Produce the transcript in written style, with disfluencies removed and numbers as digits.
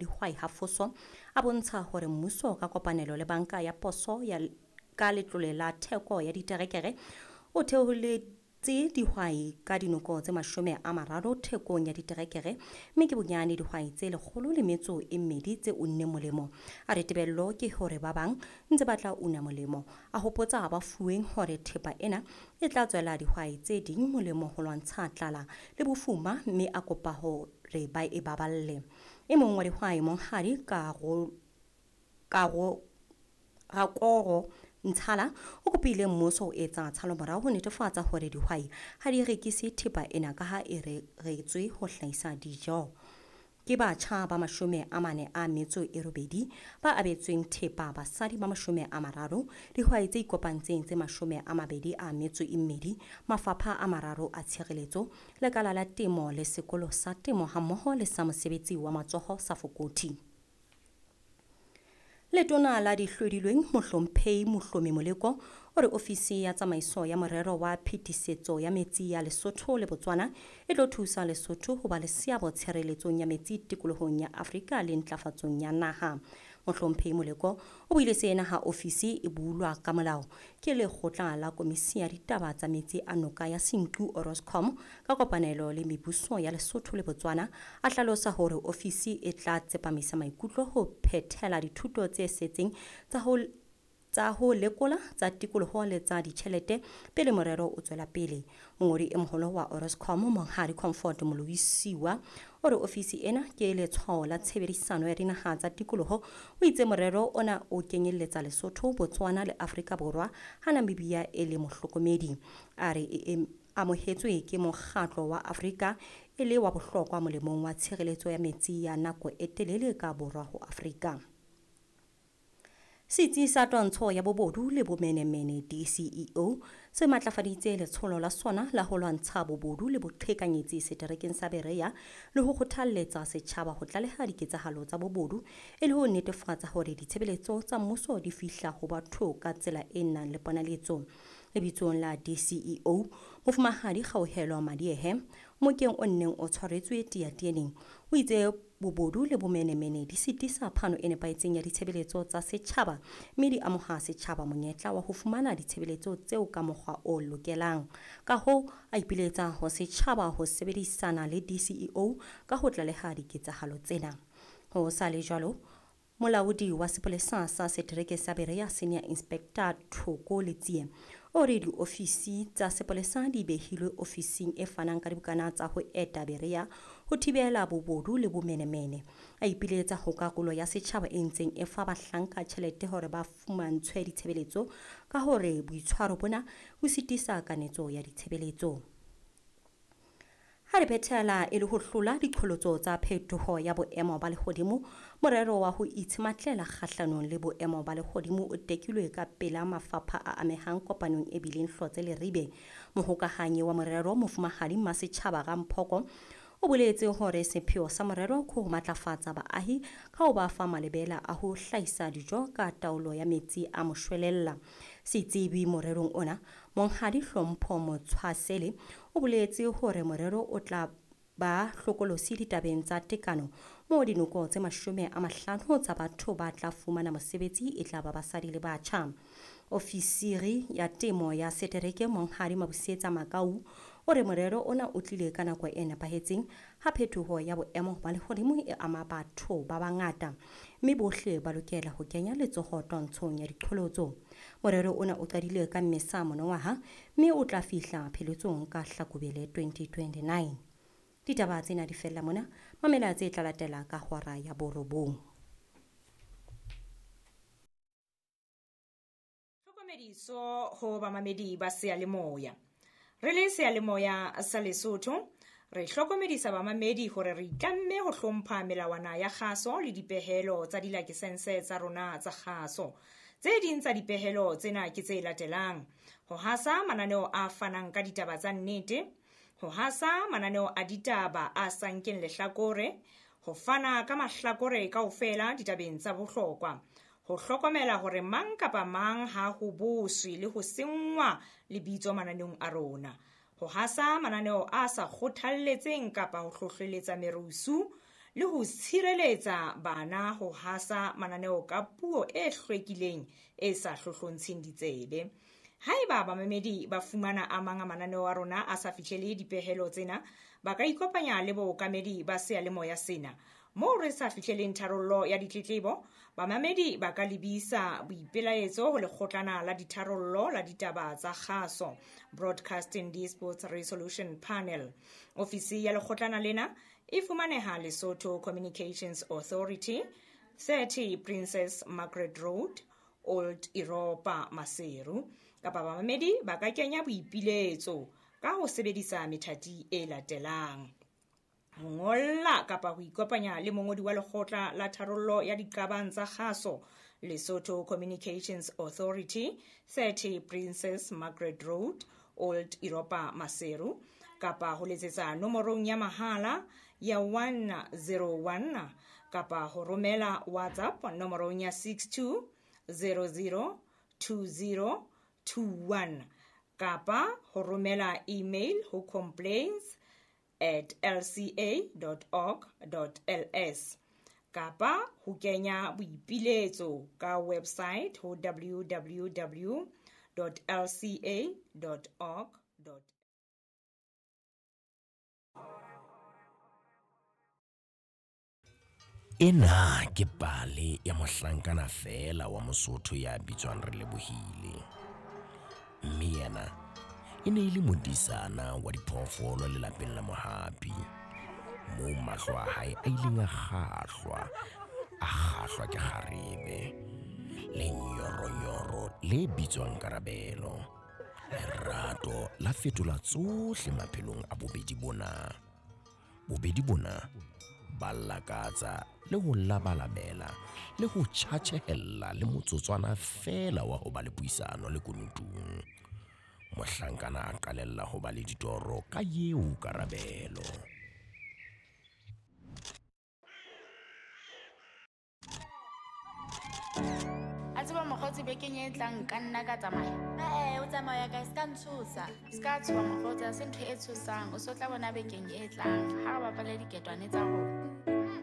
dihwai Ha Foso a bontsha hore mmuso ka kopanelo le banka ya poso ya ka letlole la theko ya diterekere o theoletse dihwai ka dinoko tse 30 thekong ya diterekere, mme ke bonyane dihwai tse 102 tse unneng molemo. A re tebello ke hore ba bang ntse ba tla una molemo. A hopotsa ba fuweng hore thepa ena e tla tswela dihwai tse ding molemo ho lwantsha tlala le bofuma, mme a kopa hore ba e baballe. E mong wa dihwai, Monghadi Karo Rakoro Ntshala, o kopile mmuso ho etsa tshalomorao ho netefatsa hore dihwai ha di rekise thepa ena ka ha e reretswe ho hlahisa dijo. Ke batjha ba 48 ba abetsweng thepa, basadi ba 30, dihwai tse ikopantseng tse 22, mafapha a mararo a tshireletso, lekala la temo le sekolo sa temo hammoho le sa mosebetsi wa matsoho sa Fokothi. Letona la dihlodilweng Mohlomphehi Mohlomi Moleko o re ofisi ya tsamaiso ya morero wa phetisetso ya metsi ya Lesotho le Botswana e tlo thusa Lesotho ho ba le seabo tshireletsong ya metsi tikolohong ya Afrika le ntlafatsong ya naha. Mohlomphehi Moleko o buile sena ha ofisi e bulwa ka molao ke lekgotla la komisi ya ditaba tsa metsi a noka ya Senqu Oroscom ka kopanelo le mebuso ya Lesotho le Botswana. A hlalosa hore ofisi e tla tsepamisa maikutlo ho phethela dithuto tse setseng tsa ho lekola tsa tikoloho le tsa ditjhelete pele morero o tswela pele. Mongodi e moholo wa Oroscom, Monghadi Comfort Moloisiwa, o re ofisi ena ke letshwao la tshebedisano ya dinaha tsa tikoloho. O itse morero ona o kenyelletsa Lesotho, Botswana le Afrika Borwa, ha Namibia e le mohlokomedi. A re e amohetswe ke mokgatlo wa Afrika e le wa bohlokwa molemong wa tshireletso ya metsi ya nako e telele ka borwa ho Afrika. Setsi sa twantsho ya bobodu le bomenemene DCEO se matlafaditse letsholo la sona la ho lwantsha bobodu le boqhekanyetsi seterekeng sa Berea le ho kgothalletsa setjhaba ho tlaleha diketsahalo tsa bobodu e le ho netefatsa hore ditshebeletso tsa mmuso di fihla ho batho ka tsela e nang le ponaletso. Lebitsong la DCEO, Mofumahadi Kgauhelo Madiehe, mokeng o nneng o tshwaretswe Teatieneng, o itse bobodu le bomenemene di sitisa phano e nepahetseng ya ditshebeletso tsa setjhaba mme di amoha setjhaba monyetla wa ho fumana ditshebeletso tseo ka mokgwa o lokelang. Ka hoo a ipiletsa ho setjhaba ho sebedisana le DCEO ka ho tlaleha diketsahalo tsena. Ho sa le jwalo, molaodi wa sepolesa sa setereke sa Berea, Senior Inspector Thoko Letsie, o re diofisi tsa sepolesa di behilwe ofising e fanang ka dibukana tsa ho eta Berea ho thibela bobodu le bomenemene. A ipiletsa ho karolo ya setjhaba e ntseng e fa bahlanka tjhelete hore ba fumantshwe ditshebeletso ka hore boitshwaro bona bo sitisa kanetso ya ditshebeletso. Ha re phethela, e le ho hlola diqholotso tsa phetoho ya boemo ba lehodimo, morero wa ho itshematlela kgahlanong le boemo ba lehodimo o tekilwe ka pela mafapha a amehang kopanong e bileng Hlotse Leribe. Mohokahanyi wa morero, Mofumahadi Mmasetjhaba Ramphoko, o boletse hore sepheo sa morero ke ho matlafatsa baahi ka ho ba fa malebela a ho hlahisa dijo ka taolo ya metsi a moshwelella. Setsebi morerong ona, Monghadi Hlompho Motshwasele, o boletse hore morero o tla ba hlokolosi ditabeng tsa tekano moo dinoko tse 50 tsa batho ba tla fumana mosebetsi e tla ba basadi le batjha. Ofisiri ya temo ya setereke, Monghadi Mabusetsa Makau, o re morero ona o tlile ka nako e nepahetseng ha phetoho ya boemo ba lehodimo e ama batho ba bangata mme bohle ba lokela ho kenya letsoho twantshong ya diqholotso. Morero ona o qadile ka Mmesa monongwaha mme o tla fihla pheletsong ka Hlakubele 2029. Ditaba tsena di fella mona. Mamela tse tla latela ka hora ya 9. Tlhokomediso ho bamamedi ba seyalemoya. Re le seyalemoya sa Lesotho, re hlokomedisa bamamedi hore re itlamme ho hlompha melawana ya kgaso le dipehelo tsa dilakesense tsa rona tsa kgaso. Tse ding tsa dipehelo tsena ke tse latelang: ho hasa mananeo a fanang ka ditaba tsa nnete, ho hasa mananeo a ditaba a sa nkeng lehlakore, ho fana ka mahlakore kaofela ditabeng tsa bohlokwa, ho hlokomela hore mang kapa mang ha ho boswe le ho senngwa lebitso mananeong a rona, ho hasa mananeo a sa kgothalletseng kapa ho hlohleletsa merusu le ho tshireletsa bana ho hasa mananeo ka puo e hlwekileng e sa hlohlontsheng ditsebe. Haeba bamamedi ba fumana a mang a mananeo a rona a sa fihlele dipehelo tsena, ba ka ikopanya le bookamedi ba seyalemoya sena. Moo re sa fihleleng tharollo ya ditletlebo, bamamedi ba ka lebisa boipelaetso ho lekgotlana la ditharollo la ditaba tsa kgaso, Broadcasting Disputes Resolution Panel. Ofisi ya lekgotlana lena e fumaneha Lesotho Communications Authority, 30 Princess Margaret Road, Old Europa, Maseru. Kapa bamamedi ba ka kenya boipiletso ka ho sebedisa methati e latelang: ho ngolla kapa ho ikopanya le mongodi wa lekgotla la tharollo ya diqabang tsa kgaso, Lesotho Communications Authority, 30 Princess Margaret Road, Old Europa, Maseru, kapa ho letsetsa nomorong ya mahala ya 101 kapa ho romela WhatsApp nomorong ya 62 00 20 21 kapa ho romela email ho complaints@lca.org.ls kapa ho kenya boipiletso ka website ho www.lca.org. Ena ke pale ya mohlankana feela wa Mosotho ya bitswang Relebohile. Mme yena e ne e le modisana wa diphoofolo lelapeng la Mohapi, moo mahlo a hae a ileng a kgahlwa ke kgarebe le nyoronyoro le bitswang Karabelo. Lerato la fetola tsohle maphelong a bobedi bona. Bobedi bona ba lakatsa le ho labalabela le ho tjhatjhehella le motsotswana feela wa ho ba le puisano le kunutung. Mohlankana a qalella ho ba le ditoro ka eo Karabelo. A tseba mokgotsi bekeng e tlang ka nna ka tsamaya. O tsamaya kae? Se ka ntshosa. Se ka tshoha mokgotsi, ha se ntho e tshosang. O so tla bona bekeng e tlang ha re bapale diketwane tsa rona.